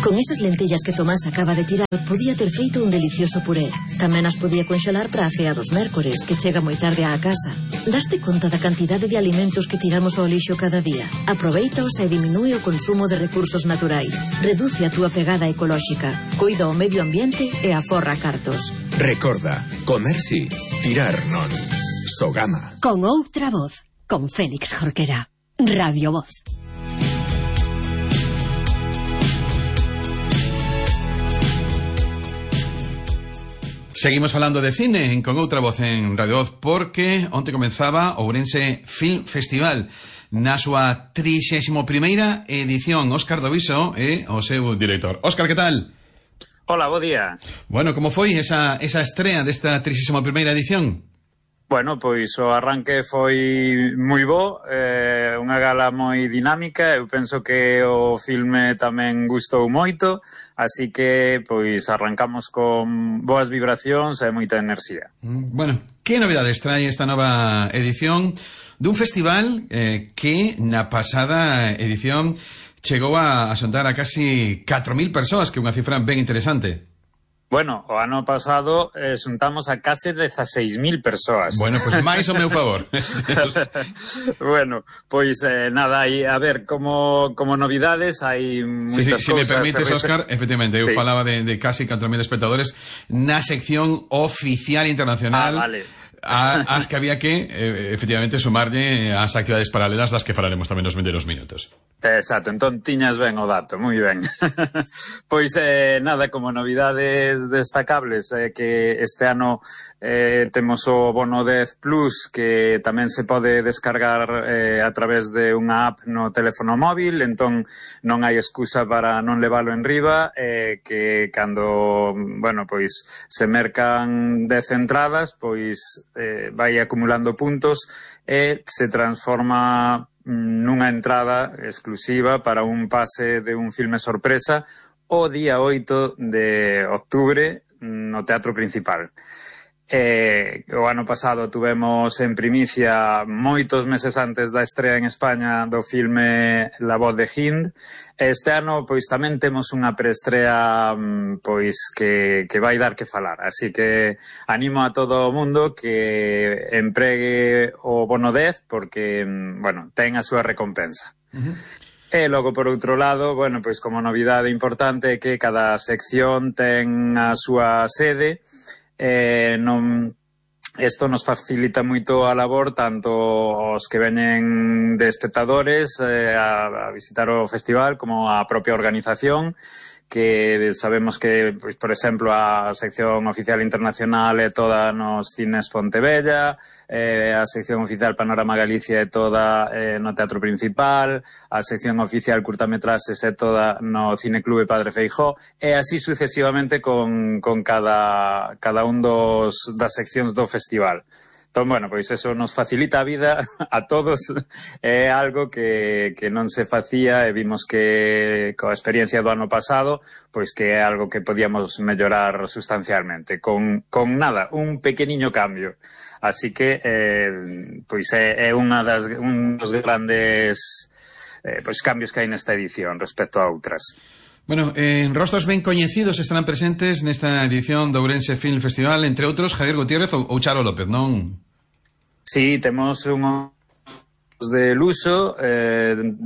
Con esas lentellas que Tomás acaba de tirar, podía ter feito un delicioso puré. Tamén as podía conxelar para a cea dos mércores, que chega moi tarde á casa. Daste conta da cantidade de alimentos que tiramos ao lixo cada día? Aproveitaos e diminúe o consumo de recursos naturais. Reduce a túa pegada ecolóxica. Coida o medio ambiente e aforra cartos. Recorda, comer sí, tirar non. Sogama. Con outra voz, con Félix Jorquera. Radio Voz. Seguimos falando de cine Con outra voz en Radio Voz, porque onte comenzaba o Ourense Film Festival na súa 31ª edición. Óscar Doviso é o seu director. Óscar, que tal? Hola, bo día. Bueno, como foi esa estrea desta 31ª edición? Bueno, pois o arranque foi moi bo, unha gala moi dinámica, eu penso que o filme tamén gustou moito, así que pois arrancamos con boas vibracións e moita enerxía. Bueno, que novidades trae esta nova edición dun festival que na pasada edición chegou a xuntar a casi 4.000 persoas, que é unha cifra ben interesante. Bueno, o ano pasado xuntamos a case 16.000 persoas. Bueno, pois máis ao meu favor. Bueno, pois nada, aí, a ver, como novidades hai moitas cousas. Si me permites, Óscar, efectivamente, eu falaba de casi 4.000 espectadores na sección oficial internacional. Vale. As que había que, efectivamente, sumarlle as actividades paralelas das que falaremos tamén nos vindeiros minutos. Exacto, entón tiñas ben o dato, moi ben. Pois nada, como novidades destacables, que este ano temos o Bono 10 Plus, que tamén se pode descargar a través de unha app no teléfono móvil, entón non hai excusa para non levalo en riba, que cando, bueno, pois se mercan 10 entradas, pois vai acumulando puntos e se transforma nunha entrada exclusiva para un pase de un filme sorpresa o día 8 de octubre no Teatro Principal. O ano pasado tuvemos en primicia, moitos meses antes da estrea en España, do filme La voz de Hind. Este ano, pois, tamén temos unha preestrea, pois, que vai dar que falar. Así que animo a todo o mundo que empregue o Bono 10, porque, bueno, ten a súa recompensa. E logo, por outro lado, bueno, pois, como novidade importante, que cada sección ten a súa sede. Isto nos facilita moito a labor, tanto os que veñen de espectadores a visitar o festival, como a propia organización, que sabemos que, pois, por exemplo, a sección oficial internacional é toda nos Cines Pontevella, a sección oficial Panorama Galicia é toda no Teatro Principal, a sección oficial Curtametraxes é toda no Cineclube Padre Feijóo, e así sucesivamente con cada un das seccións do festival. Entón, bueno, pois eso nos facilita a vida a todos, é algo que non se facía e vimos que coa experiencia do ano pasado, pois que é algo que podíamos mellorar sustancialmente, con nada, un pequeniño cambio. Así que, pois é un dos grandes pois cambios que hai nesta edición respecto a outras. Bueno, rostros ben coñecidos estarán presentes nesta edición do Ourense Film Festival, entre outros Javier Gutiérrez ou Charo López, non? Sí, temos unhos de luso,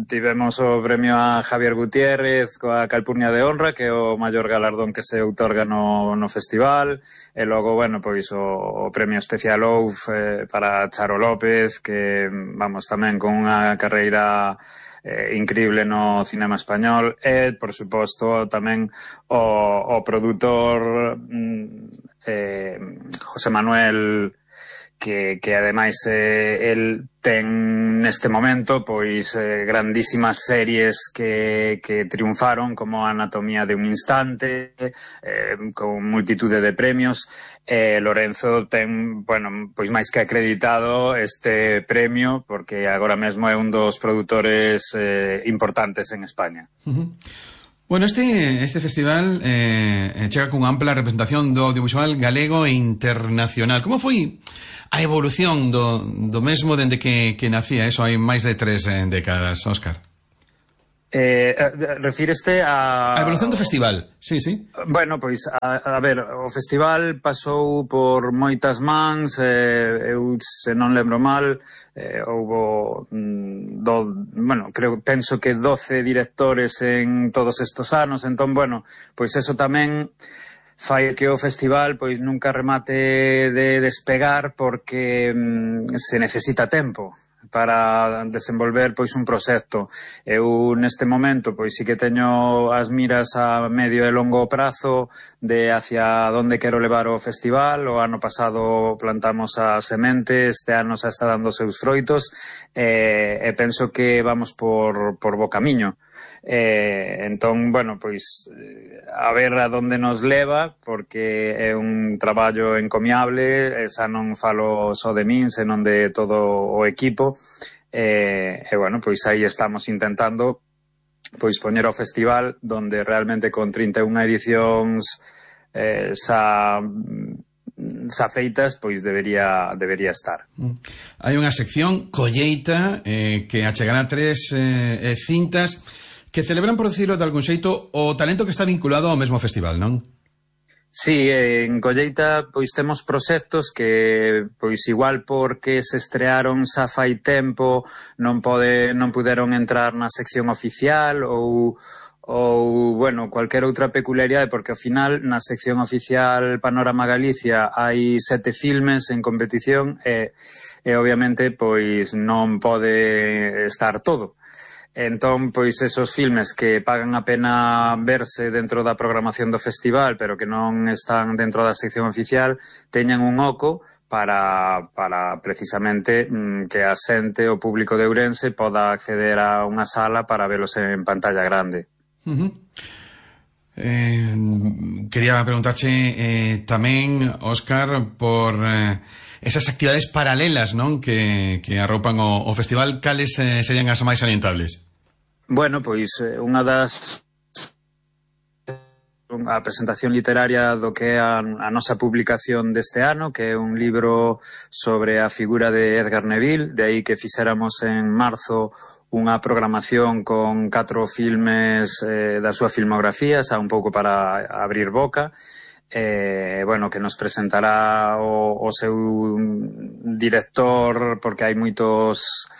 tivemos o premio a Javier Gutiérrez coa Calpurnia de Honra, que é o maior galardón que se outorga no festival, e logo, bueno, pois o premio especial OUF para Charo López, que, vamos, tamén con unha carreira increíble no cinema español, e, por suposto, tamén o produtor José Manuel, que ademais el ten neste momento pois grandísimas series que triunfaron, como Anatomía de un instante, con multitude de premios. Lorenzo ten, bueno, pois máis que acreditado este premio, porque agora mesmo é un dos produtores importantes en España. Bueno, este festival chega cunha ampla representación do audiovisual galego e internacional. Como foi a evolución do mesmo dende que nacía? Eso hai máis de 3 décadas, Óscar. Refíreste a evolución do festival, sí. Bueno, pois, a ver, o festival pasou por moitas mans, eu, se non lembro mal, houbo, penso que 12 directores en todos estos anos, entón, bueno, pois eso tamén fai que o festival pois nunca remate de despegar porque se necesita tempo para desenvolver pois un proxecto. Eu neste momento pois sí que teño as miras a medio e longo prazo de hacia onde quero levar o festival. O ano pasado plantamos a semente, este ano xa está dando seus froitos e penso que vamos por bo camiño. Entón, bueno, pois a ver a donde nos leva, porque é un traballo encomiable, xa non falo só de min, senón de todo o equipo, e bueno, pois aí estamos intentando pois poñer o festival donde realmente con 31 edicións xa feitas, pois debería estar. Hai unha sección colleita que achegará 3 cintas que celebran, por decirlo de algún xeito, o talento que está vinculado ao mesmo festival, non? Sí, en Colleita pois temos proxectos que pois igual porque se estrearon xa fai tempo non puderon entrar na sección oficial ou bueno, cualquier outra peculiaridade, porque ao final na sección oficial Panorama Galicia hai 7 filmes en competición e obviamente pois non pode estar todo. Entón, pois, esos filmes que pagan a pena verse dentro da programación do festival, pero que non están dentro da sección oficial, teñan un oco para precisamente que a xente, o público de Ourense, poda acceder a unha sala para velos en pantalla grande. Quería preguntarche tamén, Óscar, por esas actividades paralelas, non, que arropan o festival. Cales serían as máis salientables? Bueno, pois unha das a presentación literaria do que é a nosa publicación deste ano, que é un libro sobre a figura de Edgar Neville, de aí que fixéramos en marzo unha programación con 4 filmes da súa filmografía, xa un pouco para abrir boca. Bueno, que nos presentará o seu director, porque hai moitos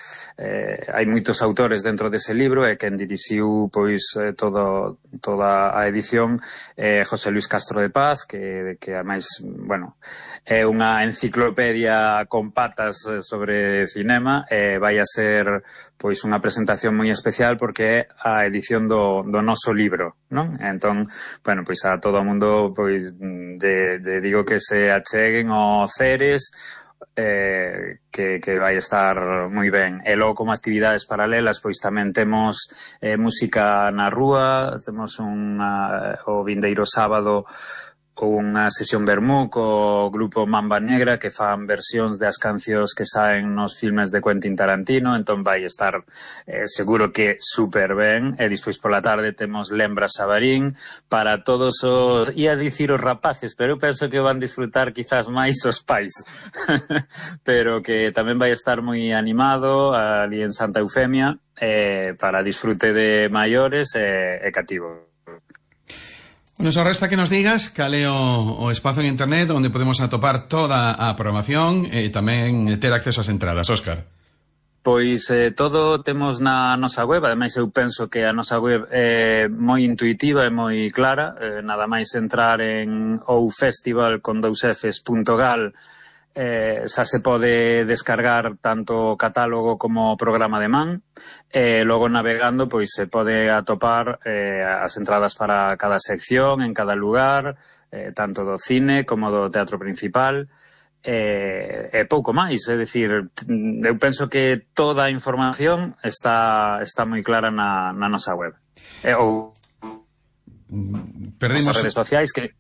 autores dentro dese libro, e quen dirixiu pois toda a edición José Luis Castro de Paz, que ademais, bueno, é unha enciclopedia con patas sobre cinema, e vai a ser pois unha presentación moi especial porque é a edición do noso libro, non? Entón, bueno, pois a todo o mundo pois digo que se acheguen ao Ceres, que vai estar moi ben. E logo, como actividades paralelas, pois tamén temos música na rúa, temos o vindeiro sábado unha sesión vermú co grupo Mamba Negra, que fan versións das cancións que saen nos filmes de Quentin Tarantino, entón vai estar seguro que super ben. E despois pola tarde temos Lembra Xabarín para todos os, ia dicir os rapaces, pero eu penso que van disfrutar quizás máis os pais pero que tamén vai estar moi animado ali en Santa Eufemia, para disfrute de maiores e cativo. Bueno, só resta que nos digas cal é o espazo en internet onde podemos atopar toda a programación e tamén ter acceso ás entradas, Óscar. Pois todo temos na nosa web, ademais eu penso que a nosa web é moi intuitiva e moi clara, nada máis entrar en oufestival.gal, xa se pode descargar tanto o catálogo como o programa de man, e logo navegando pois se pode atopar as entradas para cada sección en cada lugar, tanto do cine como do teatro principal, e pouco máis, é dicir, eu penso que toda a información está moi clara na nosa web, ou nas redes sociais que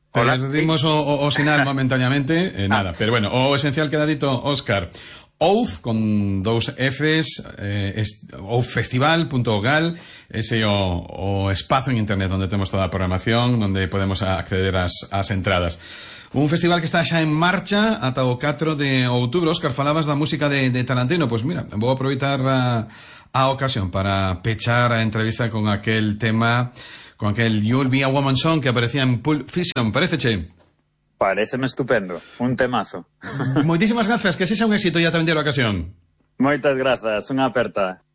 perdimos o sinal momentaneamente, nada, pero bueno, o esencial queda dito, Óscar. OUF, con 2 Fs, ouffestival.gal, ese o espazo en internet onde temos toda a programación, onde podemos acceder ás entradas. Un festival que está xa en marcha ata o 4 de outubro. Óscar, falabas da música de Tarantino. Pois mira, vou aproveitar a a ocasión para pechar a entrevista con aquel tema, con aquel You'll Be a Woman Song que aparecía en Pulp Fiction. Paréceche? Paréceme estupendo, un temazo. Moitísimas grazas, que sexa un éxito e ata vender a ocasión. Moitas grazas, unha aperta.